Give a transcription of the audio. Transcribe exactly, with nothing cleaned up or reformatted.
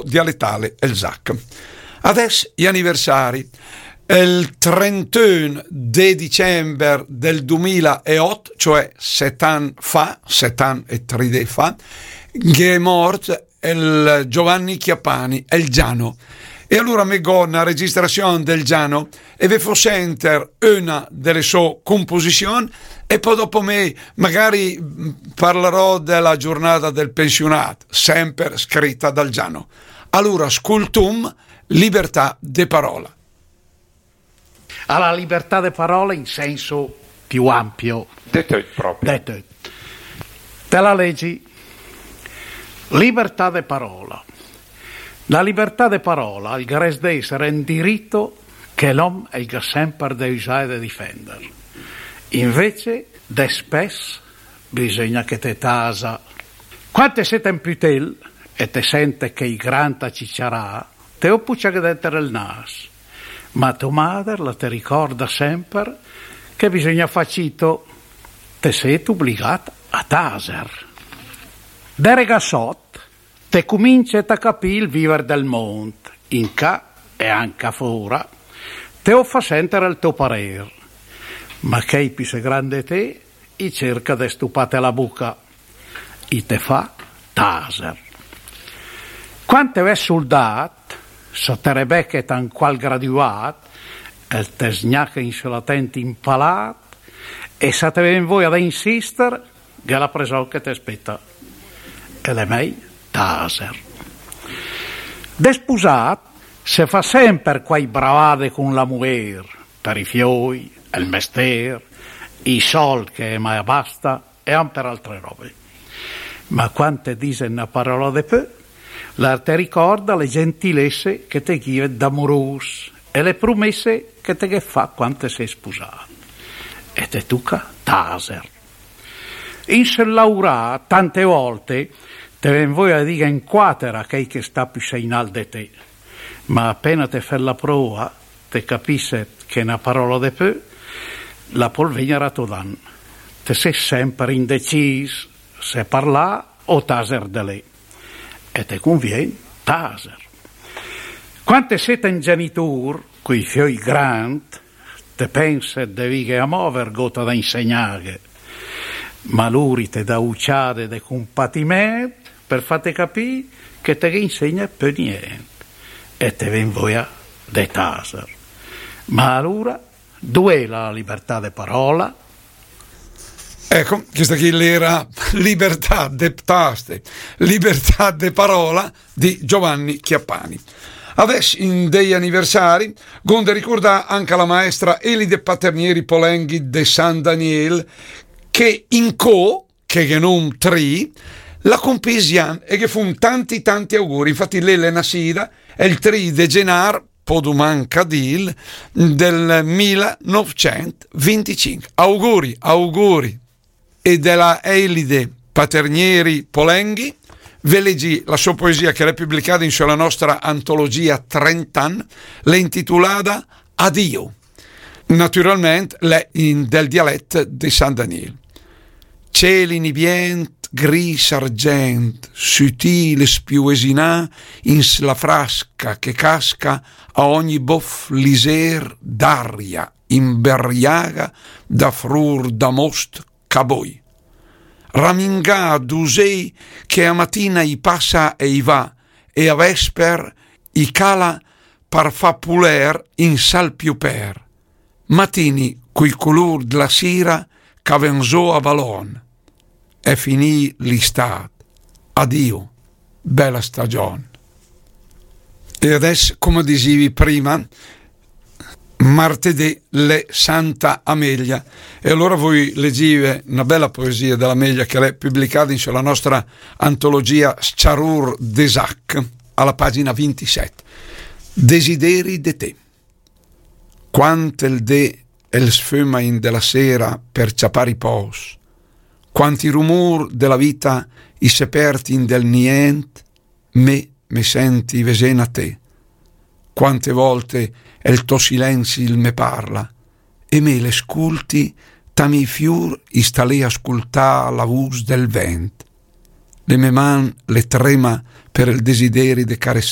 dialettale el Zac. Adès i aniversari. El trenteun de dicember del dumilaeot, cioè set an fa, set an e tri dé fa, gh'è mort el Giovanni Chiappani, el Giano. E alura me gh'ó na registrazion del Giano e ve fó senter una delle sue composizioni e poi dopo me magari mm, parlerò della giornata del pensionato, sempre scritta dal Giano. Allora, scultum, libertà de parola. A la libertà de parola in senso più ampio. De töt pròpe. De töt. Te la legi. Libertà de parola. La libertà de parola al gres de essere un diritto che l'om el ga semper de usà e de difender. Invece, despès, bisogna che te tasa. Quante sete un putel e te sente che i granta ciciarà, te o pucia che denter el nas. Ma to mader la te ricorda semper che bisogna fà cito, te set obligat a taser. De regassot, te cumince a capì il viver del mond, in ca e anca fora, te o fa senter el to parer. Ma chei più se grande te, i cerca de stupate la buca, i te fa taser. Quante ve suldat, sa te rebeche tan qual graduat, el te sgnache in solatent impalat, e sa te ven voia de insister, gh'è la preson che te speta. E l'è mei taser. Despusat, se fa semper quai bravade con la muer, per i fioi, el mester, i sold che mai basta, e anca per altre robe. Ma quante dise na parola de pö, la te ricorda le gentilesse che te ghivet d'amorus e le promesse che te ghe fa quante se spusat. E te tuca taser. In sel laurà, tante volte, te ven voia de dighe in quater a chei che sta più seinal de te. Ma apena te fet la prova, te capisset che na parola de pö la pol vegner a to dan. Te ses semper indecis se parlà o taser de lé. E te convien taser. Quante set un genitur, coi fioi grand, te penset de vighe amò vergota da insegnaghe. Ma luri te da uciade de compatiment per fate capì che te ghe insegna pö nient e te ven voia de taser. Ma alura, duè la libertà de parola? Ecco, questa qui l'era libertà de taste, libertà de parola di Giovanni Chiappani. Adès, in dei anniversari, gonde ricordà anca la maestra Elide Paternieri Polenghi de San Daniel, che in co che ghe n'om tri, la compì zi an e ghe fom tanti tanti auguri. Infatti lé l'è nasida el tri de genar, podu manca dil, del mila novcent vinticinc. Auguri, auguri. E de la Elide Paternieri Polenghi, ve legi la sua poesia che l'è pubblicada in sulla nostra antologia trenta an, l'è intitulada Adio. Naturalment l'è in del dialet de San Daniel. Ciel inibient, gris argent, sutil e spiuesinà, in s-, la frasca che casca a ogni bof liser d'aria, imberiaga da frur da most caboi. Ramingà d'usei che a matina i passa e i va, e a vesper i cala par fa puler in sal più per. Matini cui culur dla sira ca ven zo a balon. È finì l'istà. Adio, bella stagion. E adès, come disivi prima, martedì l'è Santa Amelia. E allora voi legive una bella poesia dell'Amelia che l'è pubblicata in sulla nostra antologia Sciarur de Zac, alla pagina vintisette. Desideri de te. Quant el dé el sföma in de la sera per ciapà ripòs, quanti rumur de la vita i se pert in del nient, me, me senti vezen a te. Quante volte el to silenzi il me parla, e me le sculti, ta mi fiur i sta lé a scultà la vus del vent. Le me man le trema per el desideri de carezzà